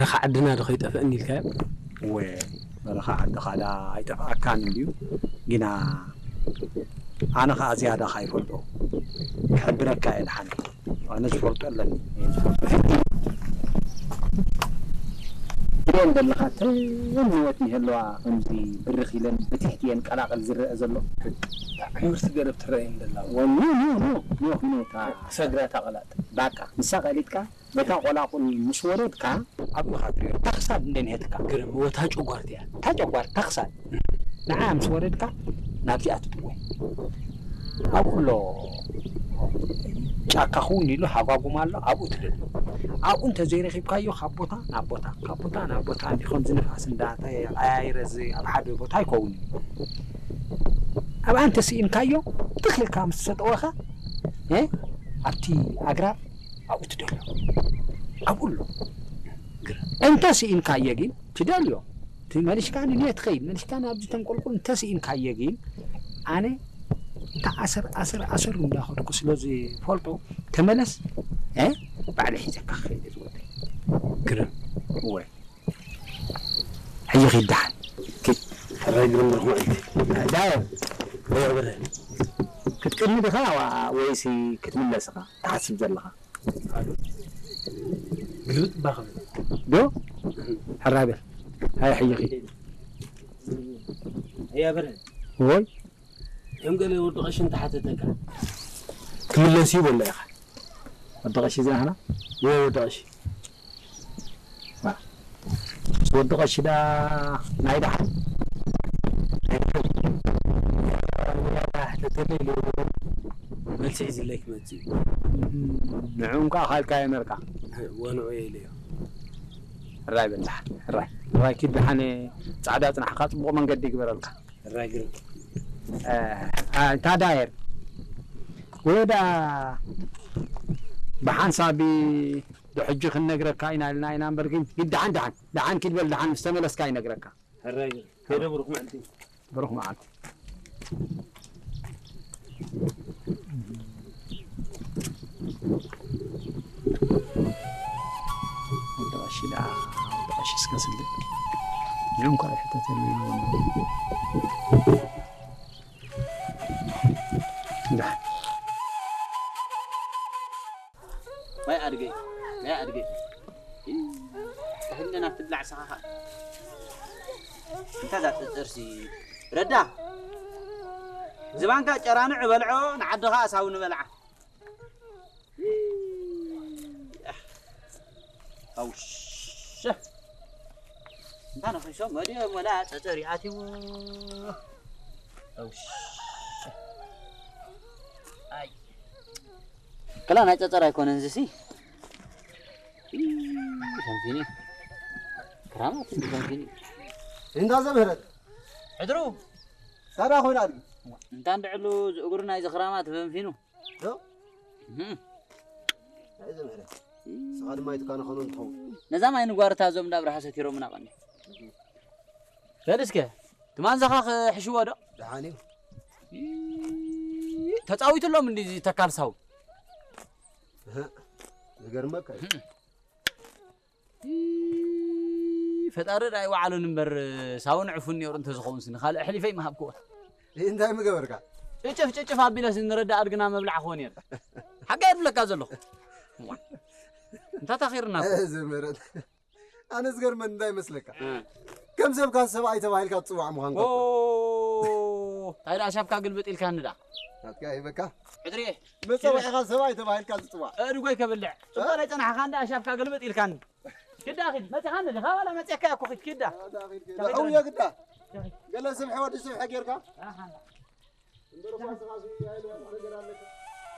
በረኻ ዓድና ዶ ከይጠፍአኒ ኢልካዮ? እወ፣ በረኻ ዓድኻ ዳ ኣይጠፍኣካን እንድዩ። ግና ኣነ ኸኣ ዝያዳ ኸይፈልጦ ክሕብረካ እየ። ደሓን ኣነ ዝፈልጦ ኣለኒ። እየን ዘለኻ ተን ንወት ይህልዋ፣ ከምዚ ብርኽ ኢለን ብትሕቲ እየን ቀላቕል ዝረአ ዘሎ። ዕምርቲ ገረብ ትረአየን ዘላ። ወ-፣ ኖ፣ ኖ፣ ኖ፣ ኖ፣ ኖ፣ እታ ሰግራ እታ ቀላጥ። ባቃ፣ ንሳ ቀሊጥካ በታ ቆላቁል ምስ ወረድካ፣ ኣብኡ ኢኻ ትሪኦ። እታ ክሳድ እንደ ንሄትካ። ግርም፣ እወ፣ እታ ጨጓር እቲኣ። እታ ጨጓር፣ እታ ክሳድ። ንዓ ምስ ወረድካ፣ ናብዚኣ ትጥወይ። ኣብኡ ኣሎ ጫካ ክውን ኢሉ ሃጓጉም ኣሎ፣ ኣብኡ ትደሎ። ኣብኡ እንተዘይረኺብካዮ፣ ካብ ቦታ ናብ ቦታ፣ ካብ ቦታ ናብ ቦታ፣ እንዲ ከምዚ ንፋስ እንዳተቐያየረ ዝ-፣ ኣብ ሓደ ቦታ ኣይከውን እዩ። ኣብኣ እንተስኢንካዮ፣ ትኽ ኢልካ ምስ ተጠወኻ፣ እ፣ ኣብቲ ኣግራብ ኣብኡ ትደልዮ። ኣብኡ ኣሎ። ግረ-፣ እንተ ስኢንካዮ ግን ትደልዮ። እቲ መሊሽካ ንንየ ትኸይድ፣ መሊሽካ ናብዚ ተንቆልቁል እንተ ስኢንካዮ ግን፣ ኣነ እታ ኣሰር፣ ኣሰር፣ ኣሰር እንዳኸድኩ ስለ ዝፈልጦ፣ ተመለስ፣ እ፣ ባዕለ ሒዘካ ክኸይድ እየ ዝወደይ። ግርም። እወ። ሕጂ ኺድ ደሓን። ኪድ። ሕራይ ግርም ብርኹም ዕልቲ። ዳየር። ዳየር ብረ። ክትቅድሚ ዲኻ ዋ-፣ ወይሲ ክትምለስ ኢኻ ትሓስብ ዘለኻ? ግልብጥ እባ ክብል። ዶ? ሕራይ በል። ሃይ ሕጂ ኺድ። ኣያ ብረ። ወይ? ከም ገለ ወዲ ቀሺ እንተሓተተካ። ክምለስ እዩ በሎ ኢኻ። ወዲ ቀሺ ዝናህና? እወ ወዲ ቀሺ። ዋ። ወዲ ቀሺ ዳ ናይ ደሓን? ናይ ደሓን? ሕተተለይ ኢሉ መልሲ ሒዝለይ ክመጽእ እዩ። ንዑ እንኳ ካልካ የመርካ። ወንዑ እየ ኢለዮ። ሕራይ በል ደሓን፣ ሕራይ። ሕራይ ኪድ ደሓን ጻዕዳ ጽናሕካ ጽቡቕ መንገዲ ይግበረልካ። ሕራይ ግርም። እ፣ እ፣ እንታ ዳየር። ወዳ ብሓንሳብ ዶ ሕጂ ክንነግረካ ኢና ኢልና ኢና እምበር ግን፣ ግን ደሓን፣ ደሓን፣ ደሓን ኪድ በል፣ ደሓን ምስ ተመለስካ ይነግረካ። ሕራይ ግርም። ከይደ ብሩኽ መዓልቲ። ብሩኽ መዓልቲ። ወዲ ቀሺ ደኣ፣ ወዲ ቀሺ እስከ ስግድ። ንዑ እንኳ ይሕተተሉ እዩ። እንዳ። ዋይ ኣድገይ፣ ዋይ ኣድገይ። ኢ፣ ተህለና ትብላዕ ሰኻኻ። እንታይ እዛ ጥርጥርሲ? ረዳ። ዝባንካ ጨራንዕ በልዖ፣ ንዓድኻ ኣሳዊ ንበልዓ። ኣውሸ። እንታ ነኺሶም መድዮም ወላ ጸጸር ይኣትዎ። ኣውሸ። ኣይ። ከላ ናይ ጸጸር ኣይኮነን ዝሲ። ኢ፣ ፈንፊኒ። ክራማት እንዲ ፈንፊኒ። እንዳ ዘምህረት። ሕድሩ። ሳዳ ኮይና ኣድጊ። እንታ እንድዕሉ ዝእግሩ ናይ ዝኽራማት ፈንፊኑ። ዶ? እህም። ናይ ዘምህረት። ስኻ ድማ ይትካነ ኸኖ እንትኸውን። ነዛ ማይ ንጓርታ እዞም እንዳ ኣብርሃ ሰቲሮምና ቀኒ። በል እስከ፣ ትማን ዘኻ ክሕሽዎ ዶ? ደሓን እዩ። ኢ፣ ተጻዊቱሎም እንዲ እዚ ተካል ሳው። እህ፣ ዝገርመካ እዩ። እህ። ኢ፣ ፈጣሪ ዳኣ ይወዓሉን እምበር፣ ሳውን ዕፉን ነይሩ እንተዝኸውን ስኒ ካልእ ኣሕሊፈ ይምሃብክዎ። ይህ እንታይ ምገበርካ? ጭጭፍ ጭጭፍ ኣቢለስ ንረዳ ኣድግና መብላዕ ክኾን እየ። ሓቂ እየ ዝብለካ ዘለኹ። እንታይ ታኺርና እኮ። እዚ ምረት። ኣነ ዝገርመን እንታይ ይመስለካ? እ። ከም ሰብካ ሰብኣይ ተባሂልካ ትጽዋዕ ምዃንካ ኦ፣ እኮ። እንታይ ደኣ ሻፍካ ግልብጥ ኢልካኒ ደኣ? ናትካ ይበካ። ሕድርየ። መጸውዒኻ ሰብኣይ ተባሂልካ ዝጽዋዕ። ኣእድጎይ ከብልዕ። ጽቡቕ እ? ኣይጸናሕኻን ደኣ ሻፍካ ግልብጥ ኢልካኒ። ኪዳ ኺድ፣ መጺኻኒ ዲኻ ዋላ መጺእካ እኮ ኺድ፣ ኪዳ። ኪዳ ኺድ፣ ኪዳ። ኪዳ። ኣውየ ግዳ። ገለ ስብሒ ወዲ ስብሒ ጌርካ? ኣሃ። እምበር እኳ ስኻ ሲ-፣ ኣይልወጥ ነገር ኣለካ።